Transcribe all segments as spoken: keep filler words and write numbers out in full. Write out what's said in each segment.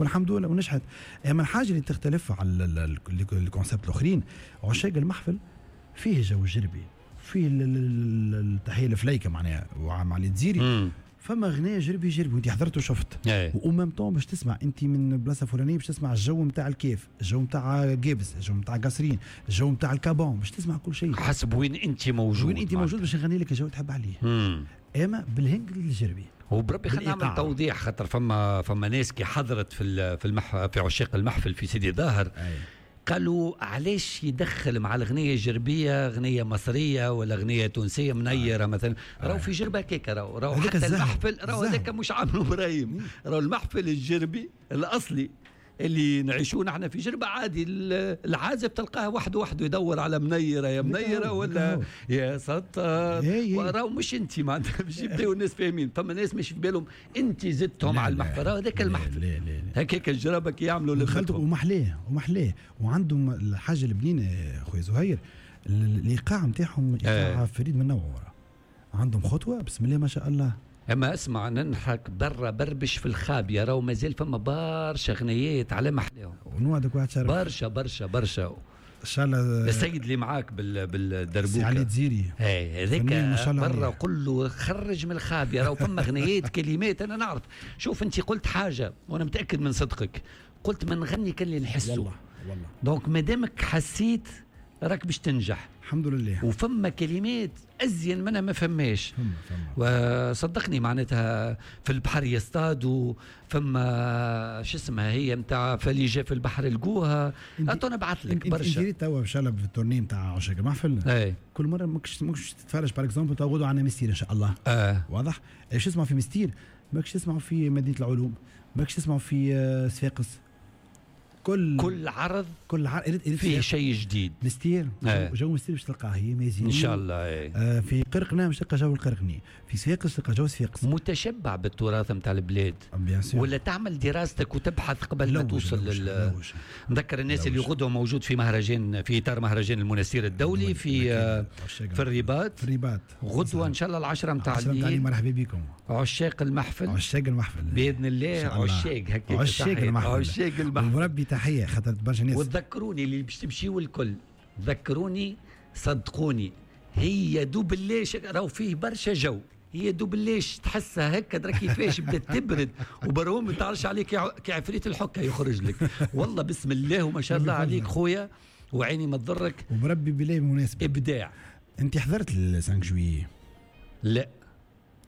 والحمد لله ونجحت. اما الحاجة اللي تختلف على ال concepts الاخرين، عشاق المحفل فيه جو جربي، فيه التحية الفليكه معناها مع الجزيري، فما غناء جربي جربي وانت حضرت وشفت و même temps باش تسمع انت من بلاصة فلانيه، باش تسمع الجو نتاع الكيف، الجو نتاع قابس، الجو نتاع قصرين، الجو نتاع الكابون، باش تسمع كل شيء حسب وين انت موجود، وين انت موجود باش نغني لك الجو تحب عليه. مم. اما بالهنج الجربي. وبربي خلينا نعمل توضيح، خاطر فما فما ناس كي حضرت في في المح في عشاق المحفل في سيدي ظاهر قالوا علاش يدخل مع الغنية الجربية غنية مصرية ولا غنية تونسية منيرة مثلا؟ راهو في جربة هكاك، راهو راهو حتى المحفل راهو هذاك مش عامله ابراهيم، راهو المحفل الجربي الأصلي اللي نعيشوه نحن في جربة عادي، العازف تلقاه وحده وحده يدور على منيرة يا منيرة ولا يا سطر، راهو مش انت معناتها باش يبداو الناس فاهمين. فما ناس مش في بالهم انت زدتهم على المحفل، راهو هذاك المحفل هكاك الجربة كي يعملوا لمتهم ومحلاه ومحلاه. وعندهم الحاجة البنينة خويا زهير، الايقاع نتاعهم ايقاع فريد من نوعه، عندهم خطوة بسم الله ما شاء الله. اما اسمع ننحك برا بربش في الخابيه، راهو مازال فما برشا غنيات على محلاهم. ونوعدك واحد شرف برشا برشا برشا ان شاء الله. السيد اللي معاك بال بالدربوكه علي تزيري اي هذاك برا قل له خرج من الخابيه، راهو فما غنيات كلمات انا نعرف. شوف انت قلت حاجة وانا متاكد من صدقك، قلت ما نغني كان اللي نحسه والله والله. donc مادامك حسيت راك باش تنجح الحمد لله. وفما كلمات ازين منها ما فماش، وصدقني معناتها في البحر يصطادوا، فما شو اسمها هي نتاع فليجه في البحر لقوها. اتو نبعث لك برشا. انت توا ان شاء الله في ال tournée نتاع عشاق المحفل كل مرة ماكش ماكش تتفرج par exemple تو غدوه عندنا مستير ان شاء الله. آه. واضح ايش تسمع في مستير ماكش تسمع في مدينة العلوم، ماكش تسمع في صفاقس. كل كل عرض كل عرض فيه شيء جديد. مستير آه. جو مستير باش تلقاه هي مازين ان شاء الله. ايه. آه في قرقنا باش تلقى جو القرقني، في صفاقس تلقى جو صفاقس. متشبع بالتراث نتاع البلاد ولا تعمل دراستك وتبحث قبل ما توصل لل نذكر الناس اللي غدوه موجود في مهرجان، في اطار مهرجان المنستير الدولي في آه في الرباط. في الرباط غدوه ان شاء الله العشرة نتاع الليل. مرحبا بكم عشاق المحفل. عشاق المحفل باذن الله. عشاق هكاك عشاق المحفل. عشاق المحفل وربي تحية خاطر برشا ناس. وتذكروني اللي باش تمشيو الكل، ذكروني صدقوني هي دوب الليش راهو فيه برشا جو، هي دوب الليش تحسها هكا درا كيفاش بدات تبرد وبرهم ما تعرفش عليك كعفريت الحكة يخرج لك والله بسم الله وما شاء الله عليك خويا وعيني ما تضرك. وبربي بالله بمناسبة ابداع. انت حضرت ال خمسة جويي؟ لا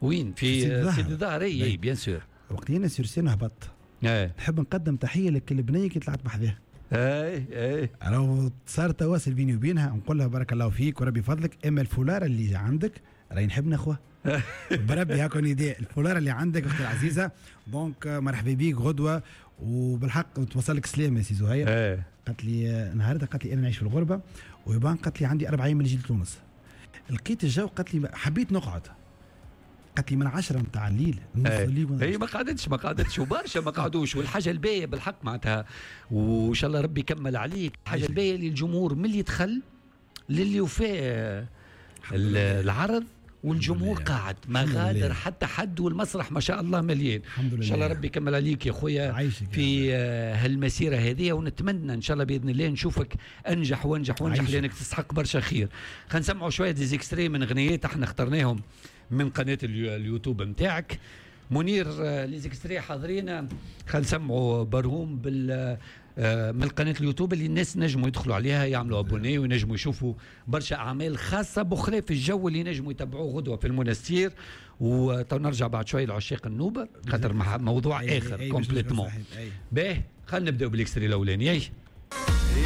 وين في سيدي ظاهر؟ اي bien sûr. وقت انا sur scène هبطت ايه. نحب نقدم تحية لكل بنيه كي طلعت بحذاها. اي اي راهو صار تواصل بيني وبينها، نقول لها بارك الله فيك وربي فضلك، اما الفولار اللي عندك راهي نحب ناخوها بربي هاكو نداء الفولار اللي عندك اختي العزيزة. donc مرحبا بيك غدوه، وبالحق توصل لك سلامه يا سي زهير. ايه. قالت لي نهارتها، قالت لي انا نعيش في الغربة ويبان، قالت لي عندي اربع ايام من جيت لتونس، لقيت الجو، قالت لي حبيت نقعد، قالت لي من عشرة نتاع الليل هي ما قعدتش ما قعدتش وبرشا ما قعدوش. والحاجة الباهيه بالحق معناتها وان شاء الله ربي يكمل عليك، الحاجة الباهيه اللي الجمهور من اللي دخل للي وفاء العرض والجمهور قاعد ما غادر حتى حد، والمسرح ما شاء الله مليان. الحمد لله. ان شاء الله ربي يكمل عليك يا خويا في هالمسيره هذه، ونتمنى ان شاء الله باذن الله نشوفك انجح وانجح وانجح لانك تستحق برشا خير. خلينا نسمعوا شوية des extraits من غنيات احنا اخترناهم من قناة اليوتيوب نتاعك منير. les extraits حاضرين، خلينا نسمعوا برهوم بال من قناة اليوتيوب اللي الناس نجموا يدخلوا عليها يعملوا abonner وينجموا يشوفوا برشا اعمال خاصة بخلاف الجو اللي نجموا يتبعوه غدوه في المنستير. وتو نرجع بعد شوية لعشاق النوبة خاطر موضوع اخر complètement. باهي خلينا نبداو بال extrait الاولاني.